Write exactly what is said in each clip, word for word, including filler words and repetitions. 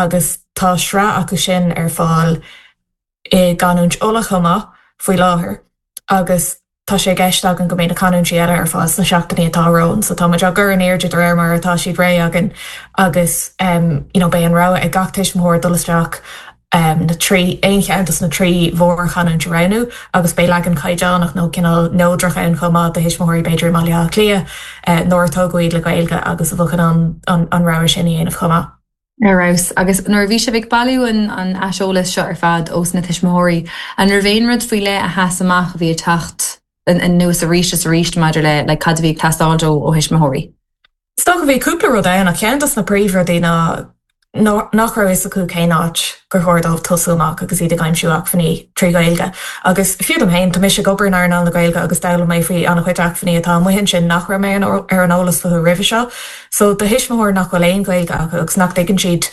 agus tá sraith acu sin ar fáil i gcanúint Uladh chomh maith faoi láthair agus tá sé i gceist againn go mbeidh na canúintí eile ar fáil sna seachtainí atá romhainn, so tá muid á gcur in airde de réir mar atá siad réidh againn agus um, you know, beidh an rogha ag gach tuismitheoir dul isteach um, na trí aon cheann des na trí mhórchanúint a roghnú agus beidh leagan caighdeánach nó cineál neodrach ann chomh maith do thuismitheoirí b'fhéidir i mBaile Átha Cliath uh, nár tógadh le Gaeilge agus a bheadh an, an, an rogha sin a dhéanamh chomh maith. Ar fheabhas agus nuair a bhí sibh ag bailiú an an aiseolas seo ar fad ós na tuismitheoirí, an raibh aon rud faoi leith a sheas amach a bhí ag teacht anuas arís is arís maidir le le cad a bhí ag teastáil ó ó thuismitheoirí. Is dócha bhí cúpla rud ann ach ceann des na príomhrudaí ná nach raibh fhios acu cén áit gur chóir dóibh tosú amach agus iad ag aimsiú acmhainní trí Ghaeilge. Agus fiú dom féin tá mise ag obair in earnáil na Gaeilge agus d'fhoghlaim mé faoi an-chuid acmhainní atá amuigh ansin nach raibh mé ar an eolas fúthu roimhe seo. So do thuismitheoir nach bhfuil aon Ghaeilge acu agus nach dtuigeann siad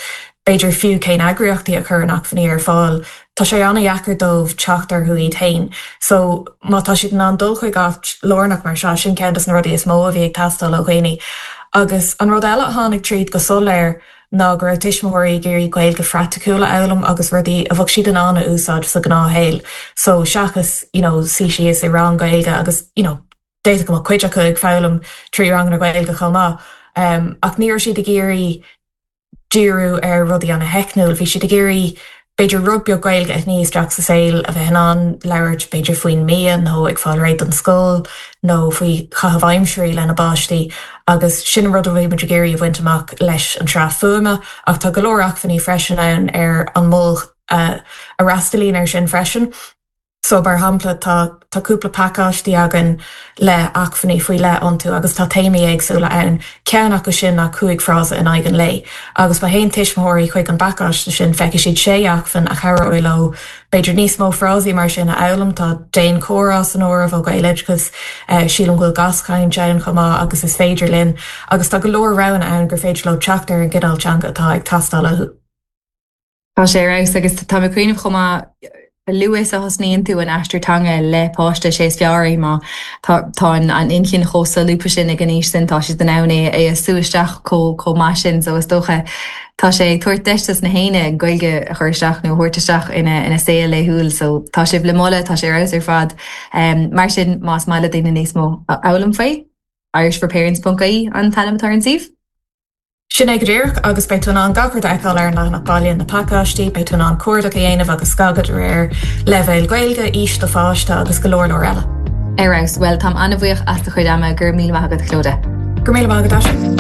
b'fhéidir fiú cén eagraíochtaí a chuireann acmhainní ar fáil, Tá sé an-deacair dóibh teacht orthu iad féin. So má tá siad in ann dul chuig áit lárnach mar seo sin ceann des na rudaí is mó a bhí ag teastáil ó dhaoine. Agus an rud eile a tháinig tríd go soiléir ná go raibh tuismitheoirí ag iarraidh Gaeilge phraiticiúil a fhoghlaim agus rudaí a bheadh siad in ann a úsáid sa ghnáthshaol. So seachas you know, suí síos i rang Gaeilge agus you know, d'fhéadfadh go mbeadh cuid acu ag foghlaim trí ranganna Gaeilge chomh maith. Um, ach ní raibh siad ag iarraidh díriú ar rudaí an-teicniúil, bhí siad ag iarraidh b'fhéidir rud beag Gaeilge a shní isteach sa saol a bheith in ann labhairt b'fhéidir faoin mbia nó ag fáil réidh don scoil nó faoi chaitheamh aimsire lena bpáistí agus sin rud a bhí muid ag iarraidh a bhaint amach leis an tsraith fuaime ach tá go leor acmhainní freisin ann ar an mol uh, a fhreastalaíonn ar sin freisin. So mar shampla tá tá cúpla pacáistí againn le acmhainní faoi leith iontu agus tá téamaí éagsúla ann ceann acu sin ná cúig frása in aghaidh an lae. Agus má théann tuismitheoirí chuig an bpacáiste sin feicfidh siad sé acmhainn a chabhróidh leo b'fhéidir níos mó frásaí mar sin a fhoghlaim tá déan comhrá san áireamh ó Gaeloideachas uh, sílim go bhfuil gaschaint ann chomh maith agus is féidir linn agus tá go leor roghanna ann gur féidir leo teacht ar an gcineál teanga atá ag teastáil uathu. Tá sé ragus agus tá mé ag cuimhneamh chomh maith luas a thosnaíonn tú an aistear teanga le páiste sé is fearr é má tá an inchinn chomh solúbtha sin ag an aois sin tá siad in ann é é a sú isteach chomh chomh maith sin so is dócha tá sé ag tabhairt deis dos na héinne Gaeilge a chur isteach nó a thabhairt isteach ina ina saol laethúil so tá sibh le moladh tá sé ar ar fad um, mar sin más maith le daoine níos mó a fhoghlaim faoi irishforparents.ie an t-ainm atá ar an suíomh? Sin é go díreach agus beidh tú in ann gach rud a fheiceáil ar an leathanach baile na pacáistí, beidh tú in ann cuardach a dhéanamh agus scagadh de réir leibhéal Gaeilge, aois do pháiste agus go leor leor eile. Ar fheabhas well táim an-bhuíoch as do chuid ama go raibh míle maith agat Clodagh. Go míle maith agat.